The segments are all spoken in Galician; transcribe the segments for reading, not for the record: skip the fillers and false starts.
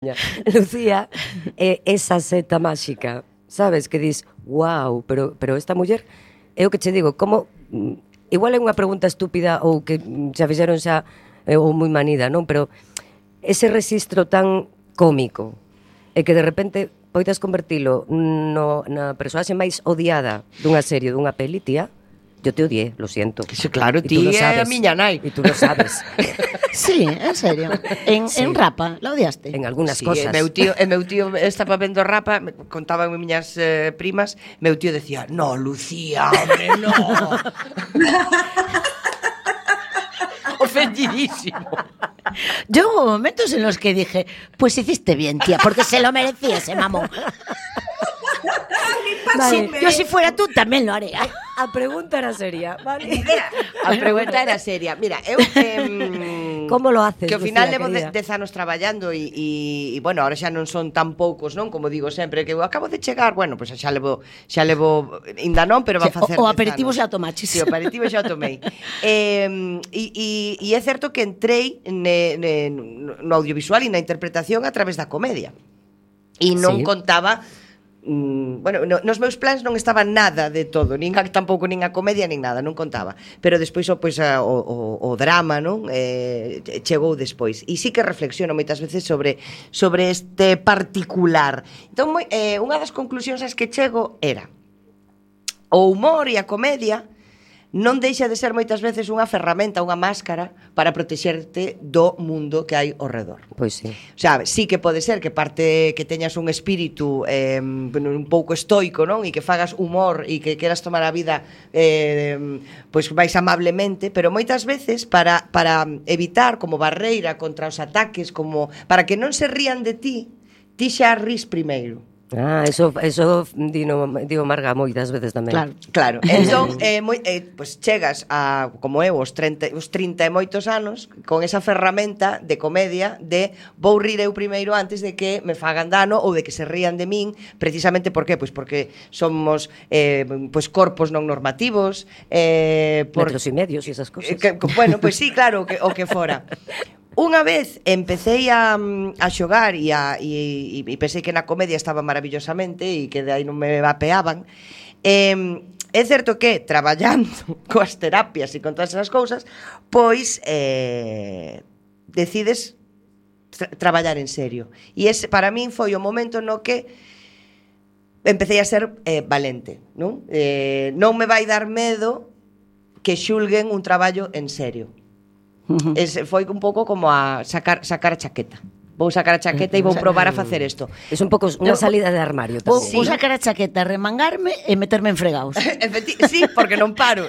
Lucía é esa seta máxica, sabes, que dis, wow, pero esta muller, é o que che digo, como, igual é unha pregunta estúpida ou que xa fixeron xa, ou moi manida, non? Pero ese rexistro tan cómico, e que de repente poidas convertilo na persoaxe máis odiada dunha serie, dunha peli, tía, yo te odié, lo siento. Eso, claro, ti é a miña nai. E tú lo sabes. Sí, en serio. En Rapa, la odiaste? En algunhas Sí, cosas. meu tío estaba vendo Rapa, contaban miñas primas, meu tío decía, no, Lucía, hombre, no. Ofendidísimo. Yo hubo momentos en los que dije, pues hiciste bien, tía, porque se lo merecía ese mamón. Vale. Yo si fuera tú tamén lo haría. A pregunta era seria, vale? A pregunta era seria. Mira, eu como lo haces, que ao final Lucía, levo 10 anos traballando e bueno, ahora xa non son tan poucos, non? Como digo sempre, que eu acabo de chegar, bueno, pois xa levo ainda non, pero va a facer o aperitivo xa o tomaches. Sí, o aperitivo xa o tomei. E é certo que entrei no audiovisual e na interpretación a través da comedia. E non contaba bueno, nos meus plans non estaba nada de todo, tampouco nin a comedia nin nada, non contaba. Pero despois o drama, non? Chegou despois. E sí que reflexiono moitas veces sobre este particular. Entón, unha das conclusións ás que chego era o humor e a comedia non deixa de ser moitas veces unha ferramenta, unha máscara para protexerte do mundo que hai ao redor. Pois sí. O sea, sí que pode ser que que teñas un espírito un pouco estoico, non? E que fagas humor e que queras tomar a vida pois máis amablemente, pero moitas veces para evitar como barreira contra os ataques, como para que non se rían de ti xa rís primeiro. Eso digo Marga moitas veces tamén. Claro. Entón, pues chegas a, como eu, os 30 e moitos anos, con esa ferramenta de comedia de vou rir eu primeiro antes de que me fagan dano ou de que se rían de min, precisamente por qué? Pois porque somos pues corpos non normativos, metros e medios e esas cosas. Bueno, pois sí, claro, o que fora. Unha vez empecé a xogar e pensei que na comedia estaba maravillosamente e que de aí non me vapeaban. É certo que traballando coas terapias e con todas esas cousas, pois decides traballar en serio. E ese para min foi o momento no que empecé a ser valente, non? Non me vai dar medo que xulguen un traballo en serio. Foi un pouco como a sacar a chaqueta. Vou sacar a chaqueta e vou probar a facer isto. É un pouco unha salida de armario tamén. Vou sacar a chaqueta, remangarme e meterme en fregaos. Sí, porque non paro.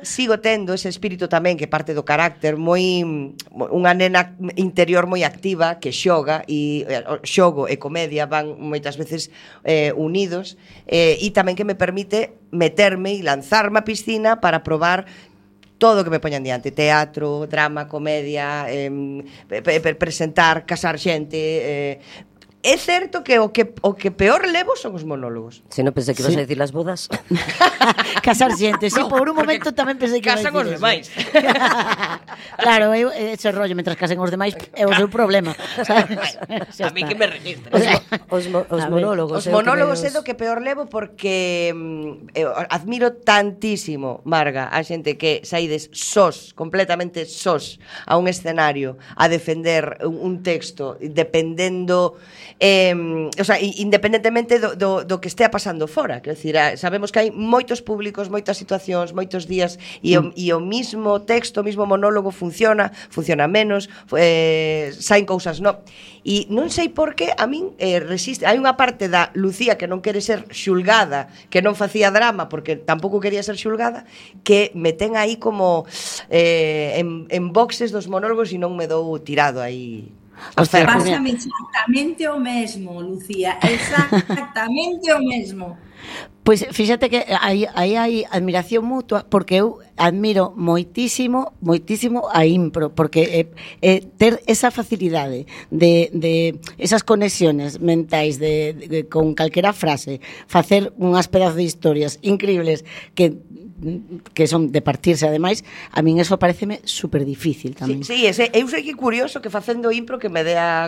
Sigo tendo ese espírito tamén que parte do carácter unha nena interior moi activa que xoga e xogo e comedia van moitas veces unidos e tamén que me permite meterme e lanzarme a piscina para probar todo o que me poñan diante, teatro, drama, comedia, presentar, casar xente. É certo que o que peor levo son os monólogos. Se non pensei que ibas a dicir as bodas. Casar xente, sí, por un momento tamén pensei que casan os demais. Claro, ese rollo, mentras casen os demais é o seu problema, sabes? A mí que me registra. Os monólogos. Os monólogos é do que peor levo porque admiro tantísimo, Marga, a xente que saides completamente sós a un escenario a defender un texto, dependendo o sea, independentemente do que estea pasando fora, quero dicir, sabemos que hai moitos públicos, moitas situacións, moitos días e o mismo texto, o mismo monólogo funciona menos, saen cousas e non sei por que a min resiste, hai unha parte da Lucía que non quere ser xulgada, que non facía drama porque tampouco quería ser xulgada, que me ten aí como en boxes dos monólogos e non me dou tirado aí. Pásame exactamente o mesmo, Lucía, exactamente o mesmo. Pois fíxate que aí hai admiración mutua, porque eu admiro moitísimo a impro, porque ter esa facilidade de esas conexiones mentais con calquera frase, facer unhas pedazos de historias increíbles que son de partirse, ademais, a min eso pareceme super difícil tamén. Sí, eu sei que curioso que facendo impro que me dea